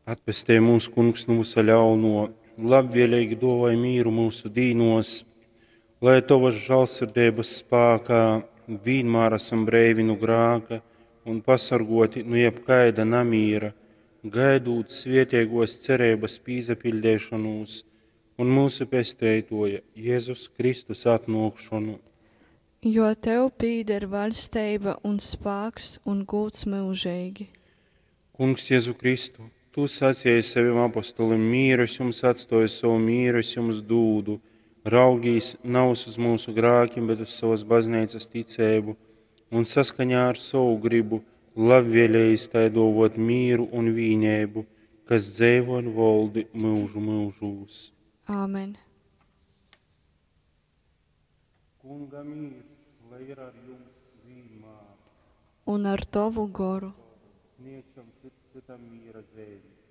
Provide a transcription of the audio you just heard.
Atpestej mūs, Kungs, nu vysa ļaunuo, labvieleigi duovoj mīru myusu dīnuos, lai Tovys žālsirdeibys spākā vīnmār asam breivi nu grāka un pasorguoti nu jebkaida namīra, gaidūt svieteiguos cereibys pīsapiļdeišonūs un myusu Pesteituoja Jezus Kristus atnuokšonu. Jo tev pīder vaļsteiba un spāks un gūds myužeigi. Kungs Jezu Kristu, Tu saceji sovim apostolim, mīru es jums atstoju, sovu mīru es jums dūdu. Raugīs navys uz myusu grākim, bet uz sovas bazneicas ticeibu un saskaņā ar sovu gribu labvēlējis tai duovuot mīru un vīneibu, kas dzeivo un voldi myužu myužūs. Āmen. Kunga mīrs, lai ir ar jums vīnmār. Un ar tovu goru. Sniegsim cytam mīra zeimi.